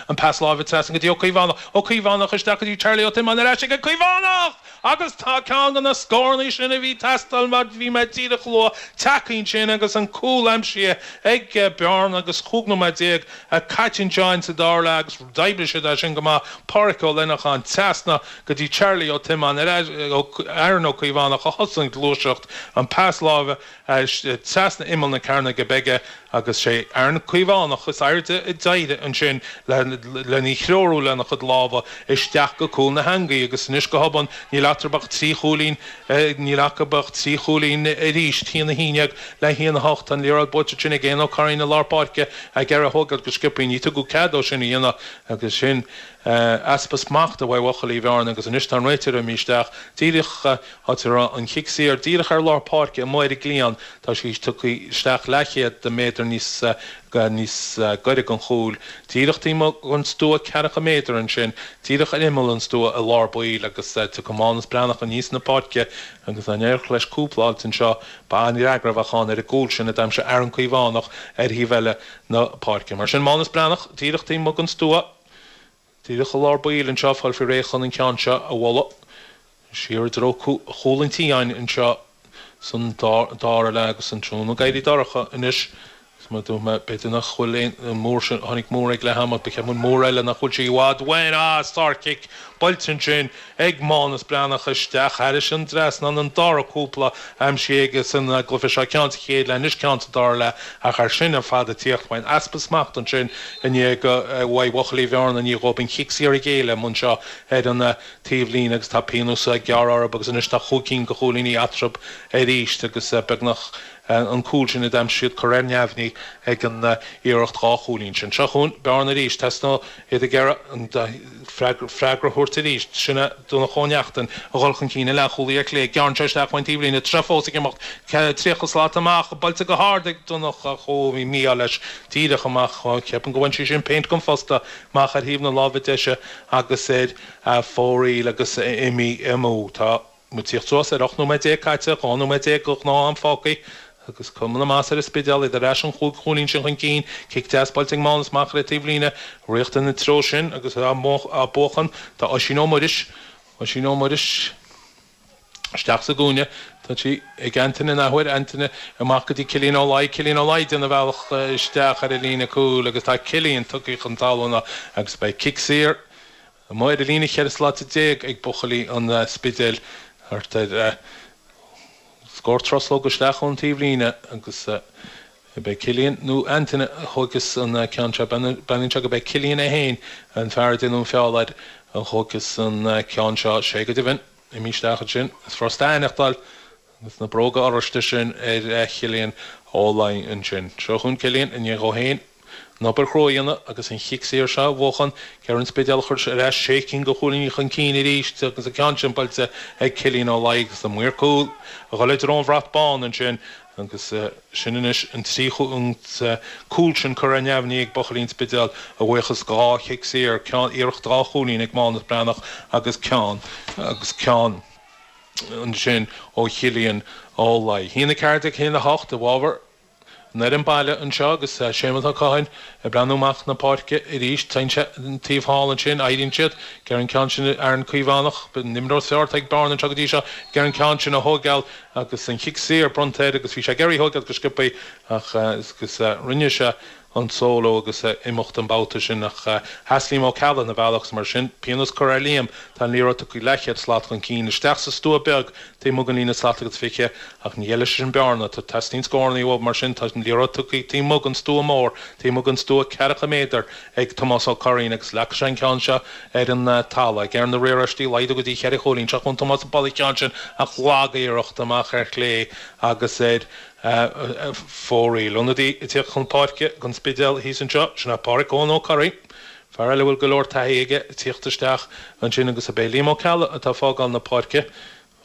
An pas láimhe trasna go dtí Ó Caomhánach. Ó Caomhánach isteach go dtí Charlie Ó Tiomáin ar ais ag an Caomhánach! Agus tá ceann de na scóranna sin a bhí ag teastáil mar bhí mé díreach a lua tagtha ansin agus an cúl aimsithe ag Bearna agus 15 nóiméad caite anseo sa dara leath agus d'oibrigh siad é sin go maith. Páraic Ó Leanacháin trasna go dtí Charlie Ó Tiomáin ar ais Aaron Ó Caomhánach a thosaigh an ghluaiseacht, an pas láimhe trasna imeall na cearnóige bige agus sé Aaron Caomhánach is airde a d'éirigh ansin lena threorú lena chuid lámha isteach go cúl na heangaí agus anois go hobann níl eatarthu ach 3 chúilín níl acu ach 3 chúilín arís, 1-11 le 1-8. Tá an liathróid buailte ansin ag Éanna Ó Curraoin i lár páirce ag iarraidh a thógáil go sciobtha. Ní tugadh cead dó sin a dhéanamh agus sin easpa smachta uaidh bhuachaillí Bhearna agus anois tá an réiteoir imithe isteach díreach áit a raibh an chic saor díreach ar lár páirce amuigh ar an gcliathán. Tá sí tugtha isteach leathchéad méadar níos níos gaire don chúl, díreach taobh amuigh den stua ceathracha méadar ansin, díreach ar imeall an stua i lár baill agus tiocfaidh Mánas Breathnach aníos na páirce agus dá n-éireodh leis cúpla a fháilt anseo, ba an-fhreagra a bheadh ann ar an gcúl sin a d'aimsigh Aaron Caomhánach ar thaobh eile na páirce. Mar sin Mánas Breathnach díreach taobh amuigh den stua. Díreach i lár baill anseo, fáil faoi réidh chun an ceann seo a bhualadh siar i dtreo chúl an tí againn anseo san dara leath agus an tráthnóna ag éirí dorcha anois. Is mar a dúirt mé, b'fhéidir nach bhfuil aon múr sin, tháinig múr ag leath ama, ba cheart an múr eile nach bhfuil sé i bhfad uainn, ah, sár-chic buailte ansin ag Mánas Breathnach isteach thairis an dtrasnán, an dara cúpla aimsithe aige san gcluiche seo, ceann sa chéad leath, anois ceann sa dara leath ach air sin ar fad ag tíocht uaidh easpa smachta ansin i ndiaidh uaidh bhuachaillí Bhearna i ndiaidh dhóibh an chic saor a ghéilleadh amuigh anseo ar an taobhlíne agus tá pionós gearrtha orthu agus anois tá chúig cinn de chúilíní eatarthu arís agus beagnach an cúl sin a d'aimsigh siad curtha ar neamhní ag an iarracht dhá chúilín sin. Seo chugainn Bearna arís. Teasnóidh iad ag iarraidh an freagra a thabhairt arís. Sin é Donncha Ó Neachtain a dhul chun cinn, an leathchúlaí ar clé. Gearrann sé isteach ón taobhlíne. Tá sé fós ag imeacht. 30 slat amach. Buailte go hard ag Donncha. Ó, bhí mí-ádh leis. Díreach amach. Ceapaim go bhain sí sin péint den phosta amach ar thaobh na láimhe deise agus ar a fomhuireal agus imithe amú. Tá. Muid ag tíocht suas ar 18 nóiméad caite, 12 nóiméad de ghnáth-am fágtha agus cuma na measa ar an Spidéal, iad ar ais an chúig chúilín sin chun cinn. Cic deas buailte ag Mánas amach ar an taobhlíne, riachtanach an treo sin agus á buachan tá Oisín Ó Muiris. Oisín Ó Muiris isteach sa gcúinne. Tá sí ag Antaine an athuair, Antaine amach go dtí Cillian Ó Laoi, Cillian Ó Laoi ag déanamh a bhealach isteach ar an líne cúil agus tá Cillian tugtha chun talún agus beidh cic saor Amuigh ar an líne 14 slat ag buachaillí an Spidéil thart ar scór truslóg isteach ón taobhlíne agus ab é Cillian nó Antaine a thóigfeas an ceann seo. Breathnaíonn sé gurb é Cillian é féin, an fear a déanadh an feall air, a thóigfeas an ceann seo. Sé go deimhin, imithe isteach ansin. Is furasta a aithneachtáil Agus na bróga oráiste sin ar Chillian Ó Laoi ansin. Seo chugainn Cillian i ndiaidh dhó féin an obair chrua a dhéanamh agus an chic saor seo a bhuachan. Ar an Spidéal a chur ar ais sé cinn de chúilíní chun cinn arís agus an ceann sin buailte ag Cillian Ó Laoi agus an maor cúil a dhul i dtreo an bhrat bán ansin agus sin anois an trí an cúl sin curtha ar neamhní ag buachaillí an Spidéil a bhuíochas dhá chic saor, ceann iarracht dhá chúilín ag Mánas Breathnach agus ceann agus ceann. ansin ó Chillian Ó Laoi. 1-14, 1-8 i bhfabhar an fhoireann baile anseo agus Séamus Ó Catháin ag breathnú amach na páirce arís. Téann sé an taobh thall ansin, éiríonn siad ag iarraidh an ceann sin Aaron Caomhánach, an imreoir is fearr atá ag Bearna anseo go dtí seo, ag iarraidh an ceann sin a thóigeáil agus an chic saor bronnta air agus bhí sé ag iarraidh a thóigeáil go sciobtha ach agus rinne sé an solo agus imeacht an babhta sin ach sheas Liam Ó Ceallaigh ina bhealach agus mar sin, pionós curtha ar Liam. Tá an liathróid tugtha leathchéad slat chun cinn isteach sa stua beag taobh amuigh den líne slat agus 20 ach ní fheilfidh sé sin Bearna. Tá teastaíonn scóranna uathu mar sin tá an liathróid tugtha taobh amuigh den stua mór, taobh amuigh den stua ceathracha méadar ag Tomás Ó Curraoin agus leagfaidh sé an ceann seo ar an talamh. Ag iarraidh na riaráistí a laghdú go dtí cheithre chúilín. Seo chugainn Tomás ag bualadh an ceann sin ach lag-iarracht amach ar chlé agus ar fóraoil. Ionadaí ag tíocht chun páirce don Spidéal thíos anseo, sin é Páraic Eoin Ó Curraoin, fear eile a bhfuil go leor taithí aige ag tíocht isteach ansin agus ab é Liam Ó Ceallaigh atá ag fágáil na páirce.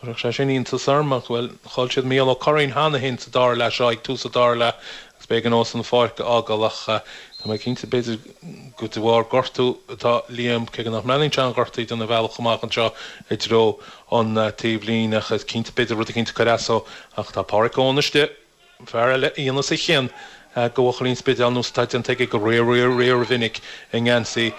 Chuirfeadh sé sin iontas orm ach, bhuel, chaill siad Mícheál Ó Curraoin cheana féin sa dara leath seo, ag tús an dara leath agus b'éigean dósan an pháirc a fhágáil ach tá mé cinnte, b'fhéidir, gur de bharr gortú atá Liam, cé go nach mbreathnaíonn sé an-ghortaithe ag déanamh a bhealach amach anseo i dtreo an taobhlíne ach is cinnte, b'fhéidir rud eicínt ag cur as dó ach tá Páraic Eoin istigh, fear eile a dhéanfas a chion do bhuachaillí an Spidéil nós atá déanta aige go riar-riar-riar-mhinic i ngeansaí.